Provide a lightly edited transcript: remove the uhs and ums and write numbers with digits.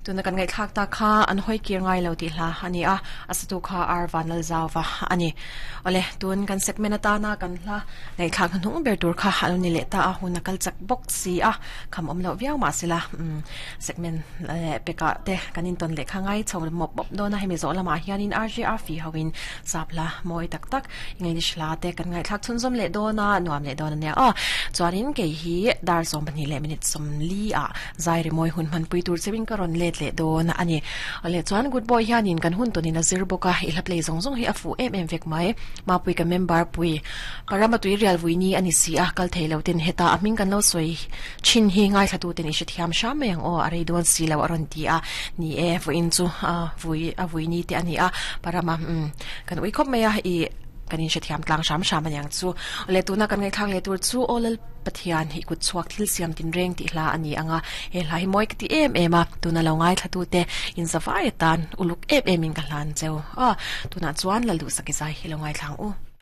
Tuna kan ngaihthlak tak kha an hawi kir ngai lo tih hla a ni a, a satu kha R Vanlalzauva a ni. Awle, tun kan segment atana kan hla ngaihthlak hnuhnung ber tur kha a lo ni leh ta a, hun a kal chak bawk si a, kham awm loh viau mah sela, umm segment leh pekah te kan intawn leh kha ngai chho mawp mawp dawn a, hemi zawh lamah hianin RJR fi hoin sap hla mawi tak tak English hla te kan ngaihthlak chhunzawm leh dawn a, nuam leh dawn a nia aw. Chuanin kei hi dar 12 leh minute 40 ah Zai rimawi hun hmanpui tur cheuhin ka rawn let leh dawn a ni. Awle chuan Good Boy hianin kan hun tawnin a zir bawk a, i hla play zawng zawng hi a fuh em em vek mai. Mapui ka member pui Parama tui rial vui ni a ni si a, kal thei lo ten heta a hming kan lo sawi thin hi ngaithla tu ten i hrethiam hram mai ang aw, a rei dawn si lo a rawn ti a. Ni e, vawiin chu vui a vui ni te a ni a, Parama umm kan ui khawp mai a, i kan inhrethiam tlang hram hram a niang chu. Awle tuna kan ngaihthlak leh tur chu aw lal. Pathian hi kut chhuak thil siam tinreng tih hla a ni ang a, he hla hi mawi ka ti em em a, tuna lo ngaithlatute inzavai atan uluk em em in ka hlan cheu a, tunah chuan Lalduhsaki zai hi lo ngaithla ang u.